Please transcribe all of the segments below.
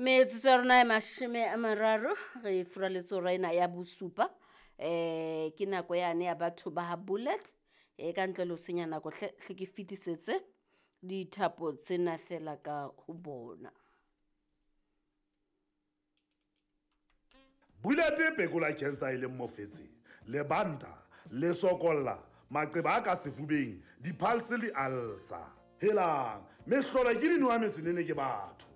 Metsotso ya rona e 30 re furaletse hora ena ya bosupa. Ke nako yane ya batho ba ha Bullet. Ka ntle le ho senya nako hle hle ke fetisetse dithapo tsena fela ka ho bona. Bullet e phekola cancer e leng mofetshe, lebanta, lesokolla, maqeba a ka sefubeng, di-pulse le ulcer. Helang, mehlolo ke dinowa mesenene ke batho.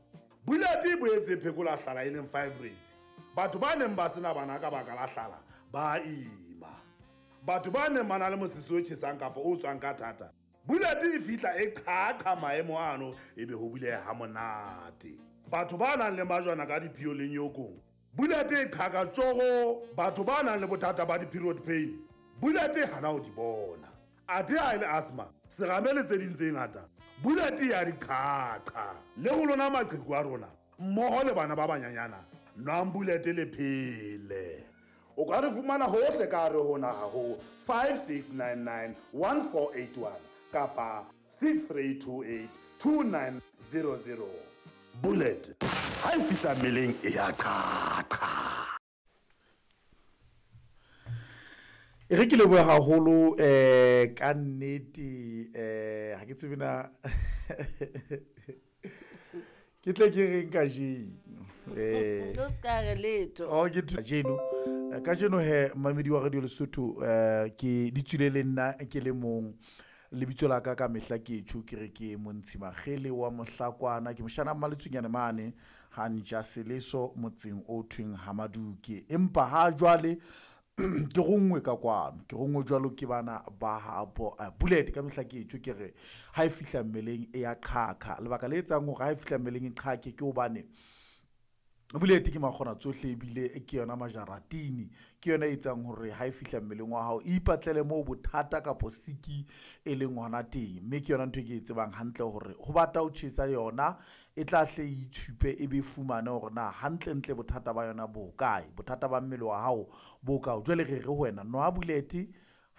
Bullet e boetse e phekola hlala e leng fibroids. Batho ba neng ba sena bana ka baka la hlala ba ima. Batho ba neng ba na le mosese o tjhesang kapa o tswang ka thata, Bullet e fihla e qhaqha maemo ano ebe ho buleha ha monate. Batho ba nang le majwana ka diphio le nyokong, Bullet e qhaka tjoro. Batho ba nang le bothata ba di-period pain, Bullet e hana ho di bona. Athe ha e le asthma, serame le tse ding tse ngata, Bullet ya di qhaqha. Le ho lona maqheku a rona, mmoho le bana ba banyanyana, nwang Bullet le phele. O ka re fumana hohle ka hare ho naha ho 5699 1481 kapa 6328 2900. Bullet ha e fihla mmeleng e ya qhaqha. E re ke lebohe haholo ka nnete, ha ke tsebe na ke tle ke reng kajeno. O ska re letho. Oh, ke kajeno. Kajeno he mamedi wa Radio Lesotho, ke di tswile le nna ke le mong. Lebitso la ka ka mehla ke tjho ke re ke Montshi Makgele wa Mohlakwana, ke moshana Mmaletsunyane mane ha ntja Seleso motseng o thweng Hamaduke. Empa ha jwale ke ronngwe ka kwano, ke ronngwe jwalo ke bana ba habo Bullet. Ka mehla ke tjho ke re ha e fihla mmeleng e ya qhaqha. Lebaka le etsang hore ha e fihla mmeleng e qhaqhe ke hobane Bullet ke makgona tsohle ebile ke yona majaratini, ke yona e etsang hore ha e fihla mmeleng wa hao e ipatlele moo bothata kapo siki e leng hona teng. Mme ke yona ntho e ke e tsebang hantle hore ho bata ho tjhesa yona e tla hle e itshupe e be fumane hore na hantlentle bothata ba yona bo kae, bothata ba mmele wa hao bo kae. Jwale re re ho wena nwa Bullet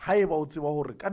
haeba o tseba hore ka